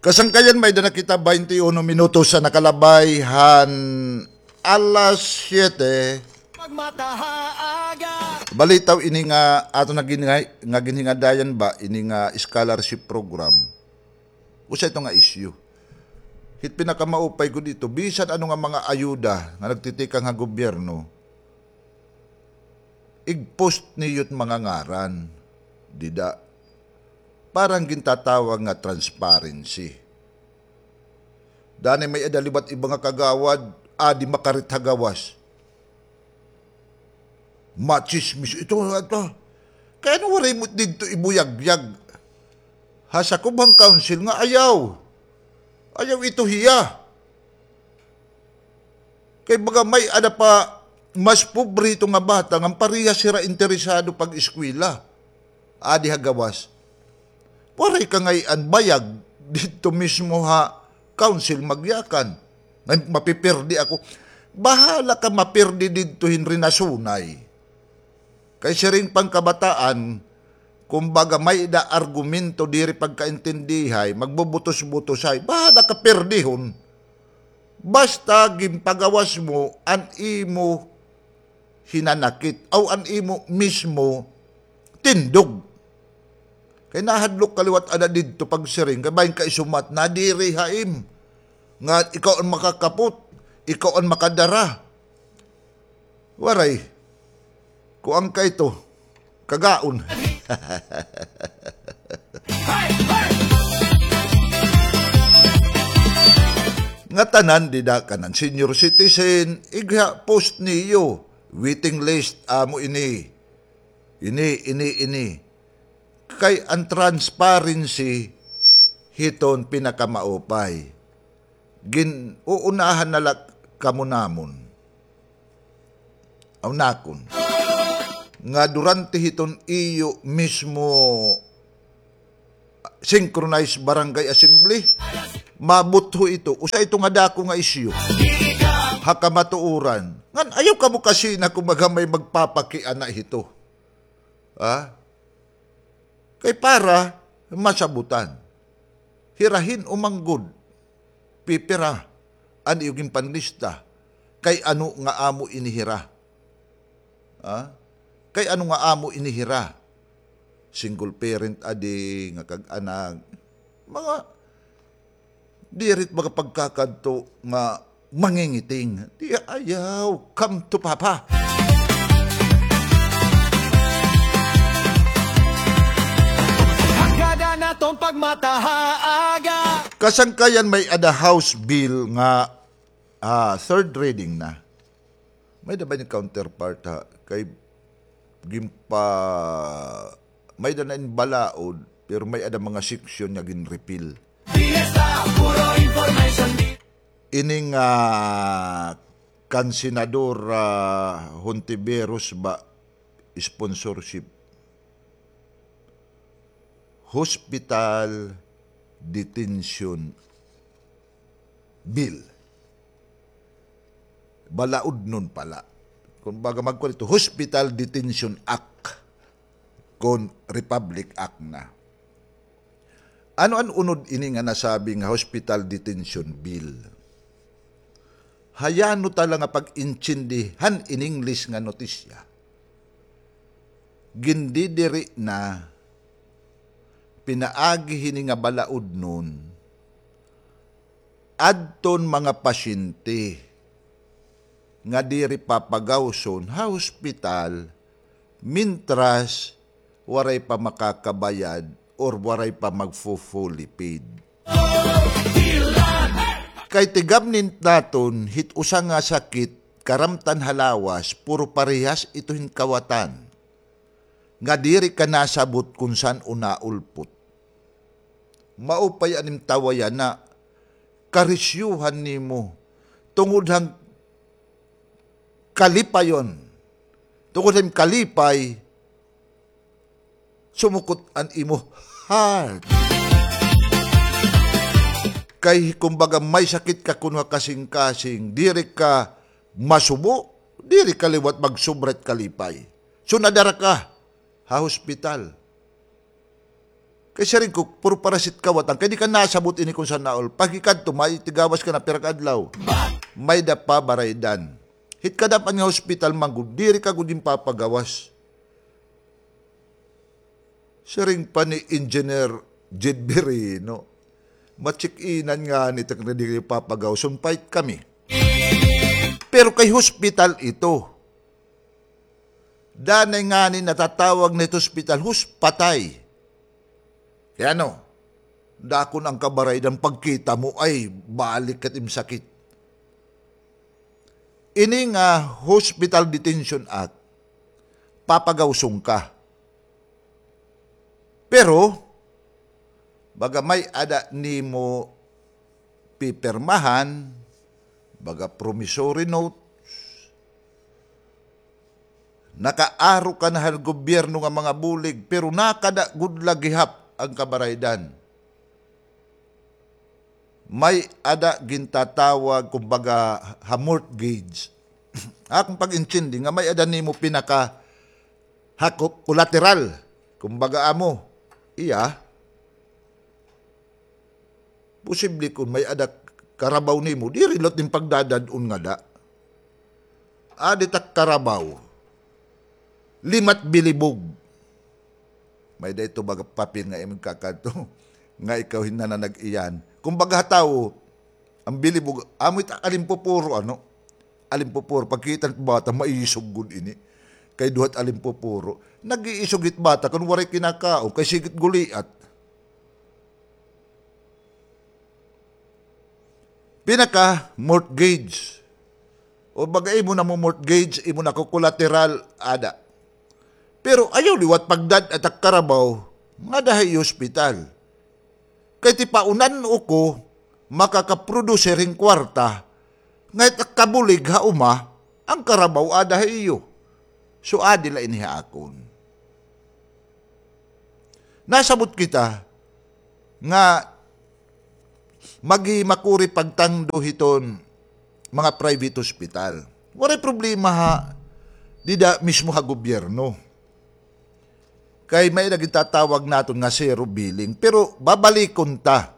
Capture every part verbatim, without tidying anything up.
Kasangkayan, may-ada na kita baynte uno minutos an nakalabay han alas siyete. Balitaw ini nga aton nga ginhi-, nga ginhingadayan ba, ini nga scholarship program. Usa ito nga isyu. Hit pinakamaupay gud ito, bisan ano nga mga ayuda nga nagtitikang ha gobyerno, ig-post niyo it mga ngaran dida. Para han gintatawag nga transparency. Danay may-ada liwat iba nga kagawad, adi makarit ha gawas. Matsismis ito, ito. Kay ano waray mo didto ibuyagyag ha sakob han council nga ayaw. Ayaw ito hiya. Kay baga may-ada pa mas pobre ito nga bata ngan parehas hira interesado pag-eskwela. Adi ha gawas. Waray ka ngay-an bayag didto mismo ha council, magyakan. Ngay-an mapipirdi ako. Bahala ka mapirdi didto hin rinasunay. Kay siring pa an kabataan, kumbaga may-ada argumento diri pagkaintindihay, magbubutos-butosay, bahala ka pirdihon. Basta ginpagawas mo an imo hinanakit, aw an imo mismo tindog. Kay nahadlok ka liwat ada didto pagsiring, kay bangin ka isumat, nadiri ha im. Nga ikaw an makakapot, ikaw an makadara. Waray. Kuan ka ito. Kagaon. Ngatanan dida kanan senior citizen, igha post niyo, waiting list, amo ini. Ini, ini, ini. Kay an transparency hiton pinakamaupay. Gin-uunahan na la kamo namon. Aw nakon. Nga durante hiton iyo mismo synchronized barangay assembly, mabutho ito. Usa ito nga dako nga isyu ha kamatuoran. Ngan ayaw kamo kasina kumbaga may magpapakiana hito. Ha? Kay para masabutan. Hira hin-o man gud pipira an iyo ginpanlista. Kay ano nga amo ini hira? Ha? Kay ano nga amo ini hira? Single parent adi nga kag-anak. Mga diri it mga pagkakadto nga mangingiting. Di ayaw, come to Papa. Hagad an aton pagmata ha aga. Kasangkayan, may-ada House Bill nga, ah, third reading na. May-ada ba ini counterpart ha? Kay ginpa-, may-ada na in balaod, pero may-ada mga section nga gin-repeal. Fiesta, puro information. Ini nga kan Senador, ah, Hontiveros ba, sponsorship. Hospital Detention Bill. Balaudnon pala. Kumbaga, magkuan ito, Hospital Detention Act kon Republic Act na. Ano an unod ini nga nasabi nga Hospital Detention Bill? Hayano ta la nga pag-intindi han in English nga notisya. Gindidiri na pinaagi hini nga balaudnon adton mga pasyente nga diri papagawson ha hospital mintras waray pa makakabayad or waray pa magfu-fully paid. Kay tigabnin naton hit usa nga sakit, karamtan ha lawas, puro parehas ito hin kawatan nga diri ka nasabot kon san-o naulpot. Maupay an im tawayan na karisyuhan nimo tungod han kalipayon. Tungod han kalipay, sumukot an imo heart. Kay kumbaga may sakit ka kuno ha kasingkasing, diri ka masubo, diri ka liwat magsubra it kalipay. So nadara ka ha hospital. Kay siring ko, puro para sit kawatan. Kay di ka nasabot ini kon sana all. Pagikadto, may tigawas ka na pira ka adlaw. May-ada pabaraydan. Hit kadam-an nga hospital man gud, diri ka gud ginpapagawas. Siring pa ni Engineer Jed Birino, matsik-inan ngani it ak na diri papagawas, on fight kami. Pero kay hospital ito. Danay ngani natatawag na it hospital, hus-, patay. Kay ano, dako na an kabaraydan, pagkita mo, ay, balik ka it im sakit. Ini nga Hospital Detention Act, papagawson ka. Pero, baga may-ada nimo pipirmahan, baga promissory notes, nakaaro ka na han gobyerno nga mga bulig, pero nakada gud la gihap an kabaraydan. May-ada gintatawag, kumbaga, ha mortgage. Akon pag-intindi nga may-ada nimo pinaka ha ko-, collateral. Kumbaga amo, iya, posible kon may-ada karabaw nimo, diri liwat nim pagdadad-on ngada. Adi it ak karabaw. Lima it bilibog. May-ada ito baga papel nga imo kakadto. Nga ikaw hin nananag-iyan. Kumbaga ha tawo, an bilibog, amo it alimpupuro, ano? Alimpupuro. Pagkita it bata, maisog gud ini. Kay duha it alimpupuro. Nag-iisog it bata, kon waray kinakaon, kay sige it guliat. Pinaka mortgage. O baga imo na mo mortgage, imo na ko collateral, ada. Pero ayaw liwat pagdad-a it ak karabaw, ngada ha iyo hospital. Kay tipaunan-o ko, makakaproduce hin kwarta, nga it ak kabulig ha uma, an karabaw ada ha iyo. So, adi la ini ha akon. Nasabot kita nga maghimakuri pagtangdo hiton mga private hospital. Waray problema ha, dida mismo ha gobyerno. Kay may-ada gintatawag naton nga zero billing. Pero babalikon ta.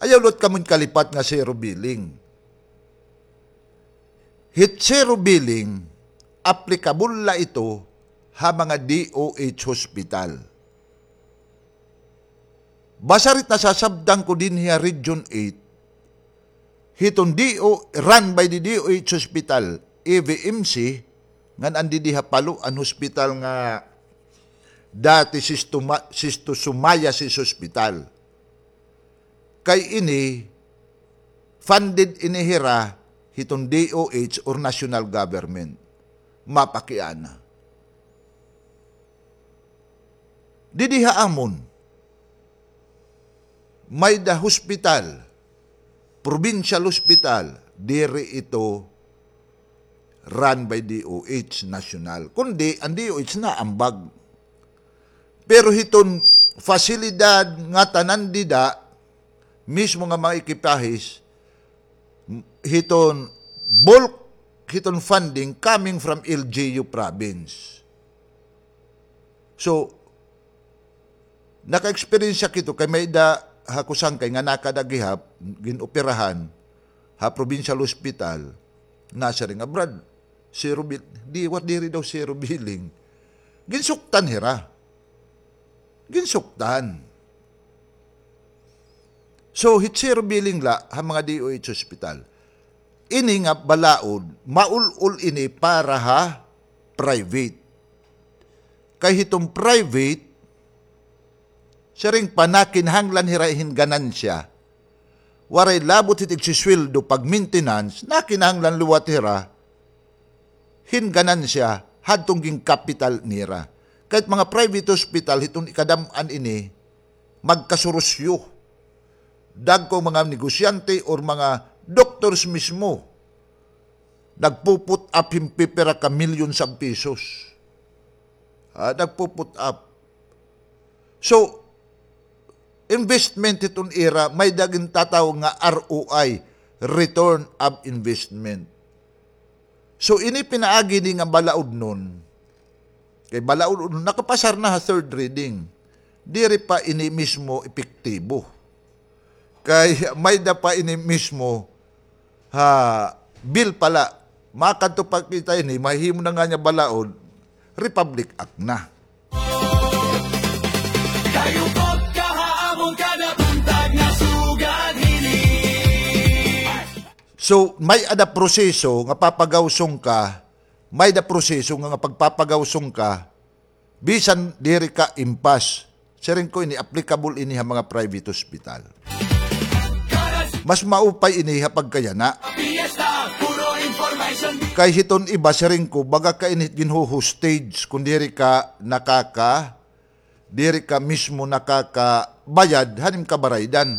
Ayaw liwat kamo hin kalipat nga zero billing. Hit zero billing, applicable la ito ha mga D O H hospital. Basta hit nasasabtan ko dinhi ha Region eight, hiton D O, run by the D O H hospital, E V M C, ngan an didi ha Palo, an hospital nga dati Schisto-, schistosomiasis hospital. Kay ini, funded ini hira hiton D O H or national government. Mapakiana. Didi ha amon, may-ada hospital, provincial hospital, diri ito run by D O H national, kundi an D O H naambag. Pero hiton fasilidad nga tanan dida, mismo nga mga ekipahis, hiton bulk hiton funding coming from L G U province. So, naka-experience ak hito kay may-ada ha akon sangkay nga nakada gihap, gin-operahan ha provincial hospital, nasiring nga, "Brad, zero bill-, di, what, diri daw zero billing." Ginsuktan hira. Ginsuktan. So, hit zero billing la ha mga D O H hospital. Ini nga balaod, maul-ol ini para ha private. Kay hiton private, siring pa, nakinahanglan hira hin ganansya. Waray labot hit igsisweldo pag-maintenance, nakinahanglan liwat hira hin ganansya hadton ginkapital nira. Kay it mga private hospital, hiton ikadam-an ini, magkasurusyo. Dagko mga negosyante or mga doctors mismo, nagpu-put up hin pipira ka millions of pesos. Ah, nagpu-put up. So, investment hiton ira, may-ada gintatawag nga R O I, return of investment. So, ini pinaagi ini nga balaodnon. Kay balaodnon, nakapasar na ha third reading. Diri pa ini mismo epektibo. Kay may-ada pa ini mismo ha bill pa la. Makadto pa kita ini, mahimo na ngani balaod, Republic Act na. Kayo pod kaha amon kada buntag nga sugad hini. So, may-ada proseso nga papagawson ka, may-ada proseso nga, nga pagpapagawson ka, bisan diri ka impas. Siring ko ini, applicable ini ha mga private hospital. Mas maupay ini ha pagkayana. Kay hiton iba, siring ko, baga ka ini ginho-hostage kon diri ka nakaka-, diri ka mismo nakakabayad han im kabaraydan.